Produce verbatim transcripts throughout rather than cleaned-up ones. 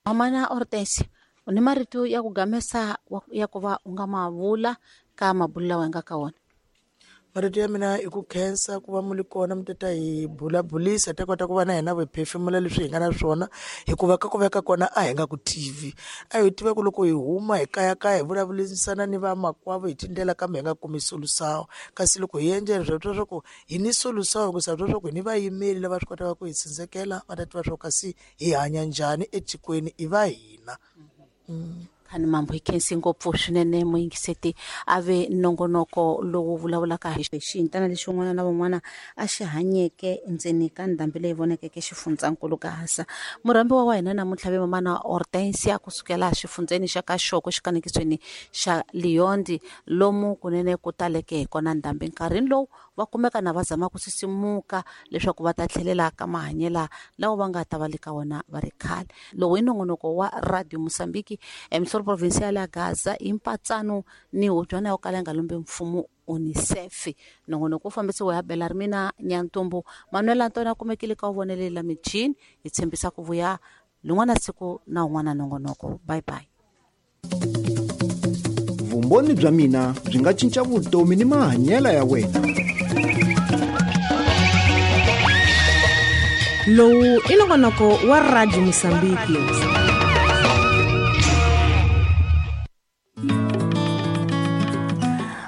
Mamana Hortensia, u ni marito ya ku gamesa ya ku va u nga ma vula ka mabulo lawa hi nga ka wona? Marito ya mina i ku khensa ku va mu li kona mi ta hi bulabulisa ta kota ku va na hina hi phefemula leswi hi nga na swona, hikuva ka ku veka kona a hi nga ku tivi. A hi tiva ku loko hi huma hi kayakaya hi vulavurisana ni vamakwavo hi tindlela kambe hi nga kumi solution. Kasi loko hi endla swa twa swa ku hi ni solution hikusa twa swa ku hi ni vayimeri lava swi kotaka ku hi tsindzekela va ta tiva swa ku kasi hi hanya njhani etikweni i va hina. Mm. Khani mambo hi khensi ngopfu swinene muyingiseti a ve nongonoko lowu vulavulaka hi xiyintana lexi un'wana na un'wana a xi hanyeke endzeni ka ndhambi leyi vonakeke xifundzankulu Gaza. Murhambiwa wa hina namuntlha ve mamana Hortensia kusukela xifundzeni xa ka Xoko xikanekisweni xa Liondi lomu kunene ku taleke hi kona ndhambi nkarhini lowu va kumeka na va zama ku sisimuka leswaku va ta tlhelela ka mahanyela lawa va nga ta va le ka wona va ri khale. Lowu i nongonoko wa Radio Mozambique emisoro provincial ya Gaza i mpatsano ni hubyana yo kala yi nga lombi mfumo UNICEF. Nongonoko wu fambisiwa hi Belarmina Nyantumbu, Manuel Antonio a kumekile ka wu la michini. Hi tshembisa ku vuya lin'wana siku na un'wana nongonoko. Bye bye. Vumbhoni bya mina byi nga cinca vutomi ni mahanyelo ya wena. Lowu i nongonoko wa Radio Mozambique.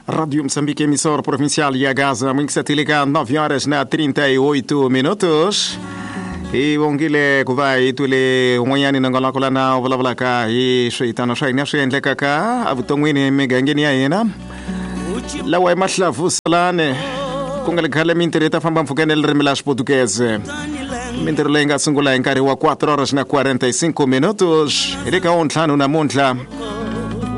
Rádio Moçambique, emissora provincial e a Gaza, muito satélite, nove horas na trinta e oito minutos. E bongile ku va hi twile un'wanyani nongonoko lana u vulavulaka hi switano swa hina swi endlekaka evuton'wini emigangeni ya hina lawa i mahlavusalane ku nga le khale mintirho yi ta famba mpfhukeni ririmi la xiputukeze. Mintirho leyi nga sungula hi nkarhi wa quatro horas na quarenta e cinco minutos hi le ka ntlhanu namuntlha.